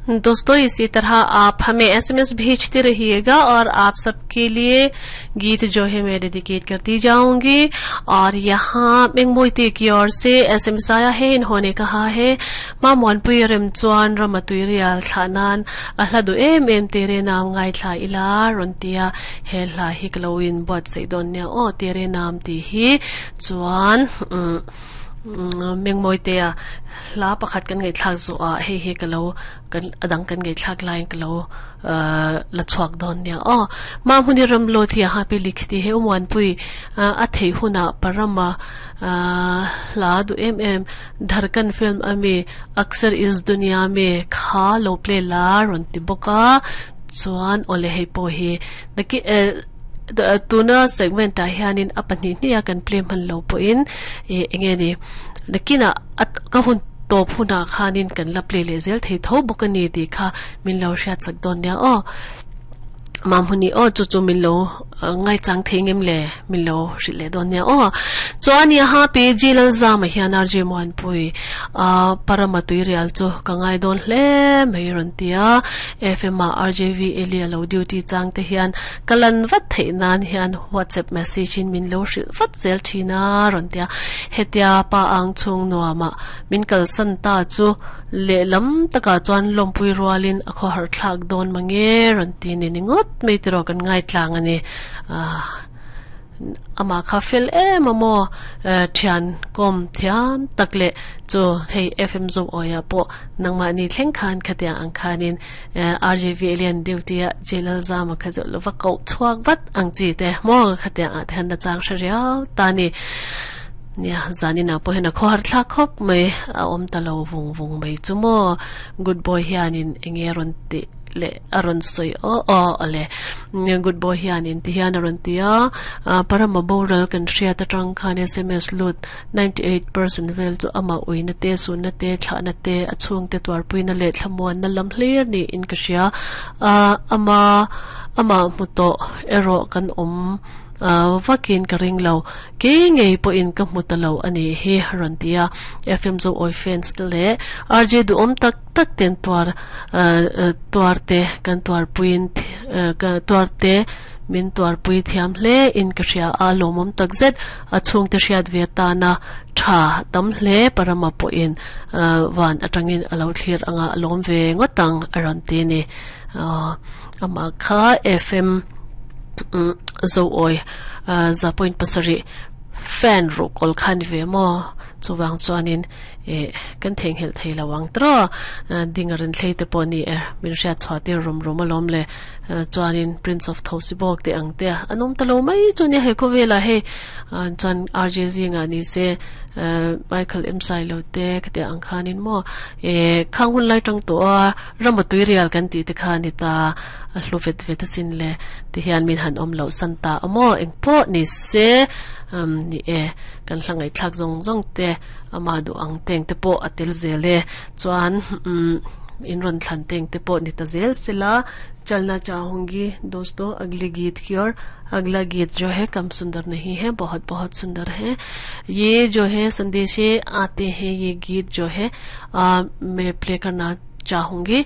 दोस्तों, इसी तरह आप हमें एसएमएस भेजते रहिएगा और आप सबके लिए गीत जो है मैं डेडिकेट करती जाऊंगी। और यहाँ मेंगमोइते की ओर से एसएमएस आया है। इन्होंने कहा है, मा मोनपुई rem chuan ramatui rial thlanan a hla du em em Tere Naam ngaithla ila rontia. He hla hi klowin bot sei don nia o, Tere Naam ti hi. Chuan mengmoi te a hla pakhat kan ngai thlak zo a, hei hi kalo kan adang kan ngai thlak line kalo la chuak don nia o. Ma huni ram lo thi ha pe likhti he umwan pui a thei huna parama hla du em em Dharkan film ami Aksar Is Duniya Me kha lo play la ron ti boka. Chuan ole, hei po hi naki tuna segment a hianin a pahnih hnih a kan play hman lo pawhin e enge ni nakina at ka hun top huna khanin kan la play le zel thei tho bawk ani ti kha min lo hriat sak dawn nia aw. Mam huni o, chu chu min lo ngai chang thei ngem le, min lo hrilh leh dawn nia aw. Chuan yaha pe jilal zama hian RJ Muanpui a parama tui rial chu ka ngai dawn hle mai rawn tia. FM a RJV Elia lo duty chang te hian kalan vat theih nan hian WhatsApp message in min lo hrilh vat zel thina rawn tia. Hetia pa ang chung nuama min kal san ta chu le lam taka chuan lompui rualin a khaw har thlak dawn mange rawn ti ni ningot mai tiro kan ngai tlang ani. Ama kha fel em amo, thian kom thiam takle chu hei FM zo oya po nangma ni thleng khan khatia ang khanin RJV alien duty a jelal zama kha zo lova ko chuak vat ang chi te mo khatia a than na chang shariao ta ni nia. Zanina po hena kho har thla khop mai a om talo vung vung mai chu mo. Good boy hianin enge ron ti le aron soi o o ale. Good boy hianin ti hian aron tia, parama boral kan hria ta tang khan SMS lut 98% vel chu ama uina te, su na te, thla na te, a chung te twar puina le thlamuan na lam hlir ni in ka hria. Ama ama muto ero kan om vakin ka ring lo ke ngei po in ka mutalo ani hi rontia. FM zo oi fans te le RJ du om tak tak ten tuar tuar te kan tuar puin ka tuar te min tuar pui thiam hle in ka hria a, lomom takzet. A chung te hriat ve ta na tha tam hle, parama po in van atangin alo thlir anga lom ve ngotang aron ti ni. Ama kha FM zo oi za point pasari fan ro kol khan ve mo chuwang chuanin e kan theng hel thei lawang tro dingaran thlei te pawh ni er min hria chhuati rum rum alawm le. Chuanin Prince of Thosibok te ang te anom talo mai chu ni he khowela he. Chuan RJZ nga ni se Michael M Sai lo te khate ang khanin mo e khang hun lai tang to a ramatui rial kan ti te khan ni ta a hlu vet vet sin le ti hian min han om lo santa amo eng po ni se ni e kan hlangai thlak zong zong te ama du ang teng te po atel zele. Chuan in ron thlan teng te po ni ta zel sila. चलना चाहूंगी दोस्तों अगले गीत की ओर। अगला गीत जो है कम सुंदर नहीं है, बहुत बहुत सुंदर है। ये जो है संदेशे आते हैं, ये गीत जो है मैं प्ले करना चाहूंगी।